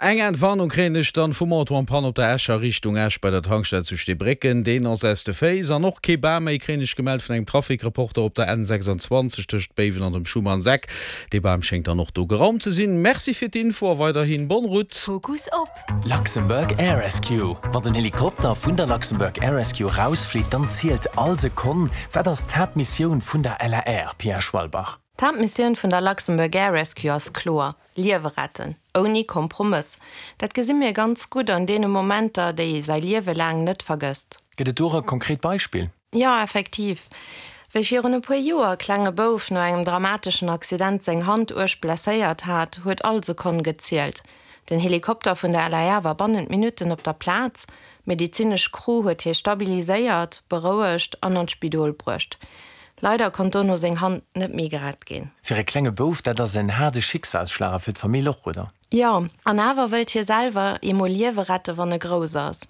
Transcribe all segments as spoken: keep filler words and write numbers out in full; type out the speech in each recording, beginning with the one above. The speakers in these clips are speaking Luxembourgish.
Eng Entwarnung kréien ech dann vum Auto en panne op der Escher Richtung Esch bei der Tankstell zu Steebrécken. Deen ass aus de Féiss. An och kee Bam méi kréien ech gemellt vun engem Trafikreporter op der N sechsundzwanzeg tëscht Béiwen an dem Schumannseck. Dee Bam schéngt dann och do geraumt ze sinn. Merci fir d'Info a weiderhin bonne route. Fokus op. Luxembourg Air Rescue. Wann den Helikopter vun der Luxembourg Air Rescue rausflitt, dann zielt all Sekonn. Wat ass d'Haaptmissioun vun der L A R, Pia Schwalbach? D'Haaptmissioun vun der Luxembourg Air Rescue ass kloer: Liewe retten, ouni Kompromëss. Dat gesi mir ganz gutt an deene Momenter, déi ee säi Liewe laang net vergësst. Gëtt et do e konkret Beispill? Jo, effektiv. Wéi virun e puer Joer e klenge Bouf no engem dramateschen Accident seng Hand uerg blesséiert hat, huet all Sekonn gezielt. Den Helikopter vun der L A R war bannent Minutten op der Plaz, d'medezinesch Crew huet hie stabiliséiert, berouegt an an d'Spidol bruecht. Leider konnt dono seng Hand net méi gerett ginn. Fir e klenge Bouf, dat ass en haarde Schicksalsschlag, a fir d'Famill och, oder? Jo, an awer wëllt hie selwer eemol Liewe rette wann e grouss ass.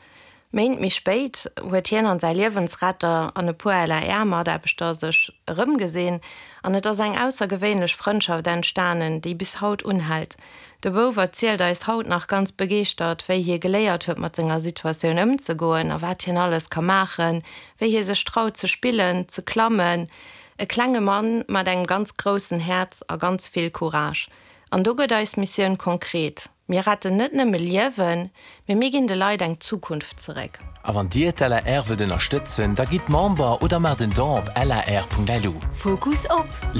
Méint méi spéit huet hien an säi Liewensretter an e puer L A R-Mataarbechter sech erëmgesinn an et ass eng aussergewéinlech Frëndschaft entstanen, déi bis haut unhält. De Bouf erzielt eis haut nach ganz begeeschtert, wéi hie geléiert huet mat senger Situatioun ëmzegoen a wat hien alles ka maachen, wéi hie sech traut ze spillen, ze klammen. E klenge Mann mat engem ganz groussen Häerz a ganz vill Courage. An do gëtt eis Missioun konkret. Mir retten net nëmme Liewen, mee mir ginn de Leit eng Zukunft zeréck. A wann Dir d'L A R wëllt ënnerstëtzen, da gitt Member oder maacht en Don op L A R Punkt L U. Fokus op.